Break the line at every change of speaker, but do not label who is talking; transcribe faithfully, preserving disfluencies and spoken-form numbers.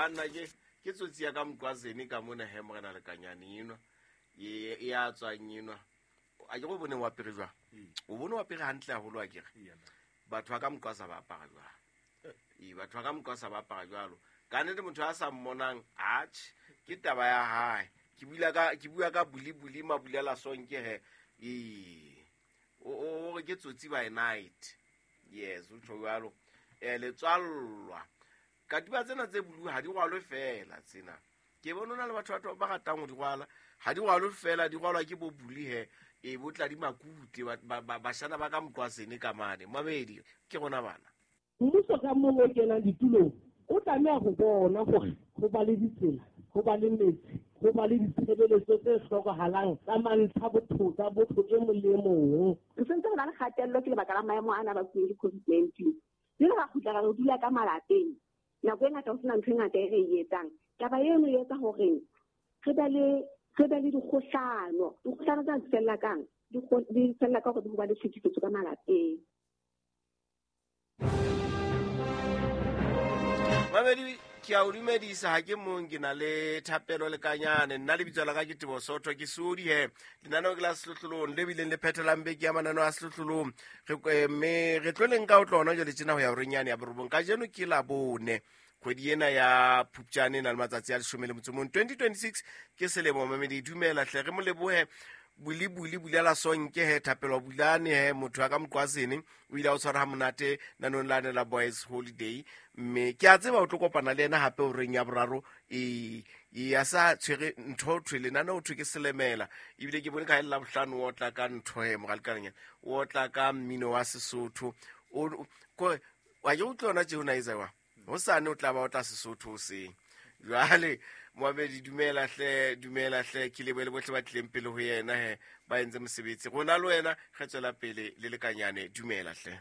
Banna ke ke tsotsi ya ka Mqwazeni ka mona he morena Lekanyane enwa. E e a tswang enwa. A ke go bone wa apere jwang? O bone wa apere hantle haholo a kere. Batho ba ka Mqwaza ba apara jwang? Ee, batho ba ka Mqwaza ba apara jwalo. Ka nnete motho a sa mmonang, atjhe, ke taba ya hae. Ke bua ka ke bua ka buli buli mabulela sonke he. Ee. O o re ke tsotsi by night. Yes, o tjho jwalo. Eh letswallwa. Katiba tsena tse bulu ha di rwalwe fela tsena. Ke bona hona le batho batho ba ratang ho di rwala. Ha di rwalwe fela, di rwalwa ke bo buli he. E bo tla di makute ba ba bashana ba ka Mqwazeni ka mane. Mamedi ke rona bana.
Mmuso ka mong o kenang ditulong o tlameha ho bona hore ho ba le ditsela, ho ba le metsi, ho ba le ditshebeletso tse hlokahalang tsa mantlha botho tsa botho e mong le e mong.
Re sentse re na le kgatello ke lebaka la maemo ana a bakuweng ke COVID nineteen. Jwale ra kgutla ra re dula ka malapeng. Nako e ngata ho sena ntho e ngata e re e etsang. Taba eno e etsa hore re be le re be le dikgohlano. Dikgohlano tsena di fella kang? Di kgo-, di fella ka hore ho ba le tlhekefetso ka malapeng.
Mamedi, ke a o dumedisa, ha ke mong, ke na le Thapelo Lekanyane. Nna lebitso la ka ke Tebo Sotho, ke Sodi he. Lenaneo ke la Sehlohlolong le bileng le phethelang beke ya mananeo a Sehlohlolong. Re, eh, mme re tlo leng ka ho tlona jwale tjena ho ya horeng yane ya borobong. Kajeno ke Labone, kgwedi ena ya Phupjane e na le matsatsi a leshome le motso o mong. twenty twenty-six ke selemo, mamedi, dumela hle, re mo lebohe. Buli buli bulela sonke he, Thapelo Bulane he, motho wa ka Mqwazeni o ile a o tshwara ha monate nanong la ne la Boys Holiday. Mme ke a tseba o tlo kopana le yena hape horeng ya boraro. E, e a sa tshwere ntho thwe lenaneo ho thwe ke Selemela. Ebile ke bone ka la bohlano o otla ka ntho he, moralekanyana. O otla ka mmino wa Sesotho. O, o, ko, wa ke utlwa yona tje o na etsa jwang? Hosane o tla ba o tla Sesotho hoseng. Jwale Moabedi, dumela hle, dumela hle, ke lebohe le bohle ba tlileng pele ho yena he, ba entse mosebetsi. Rona le wena re tswela pele le Lekanyane, dumela hle.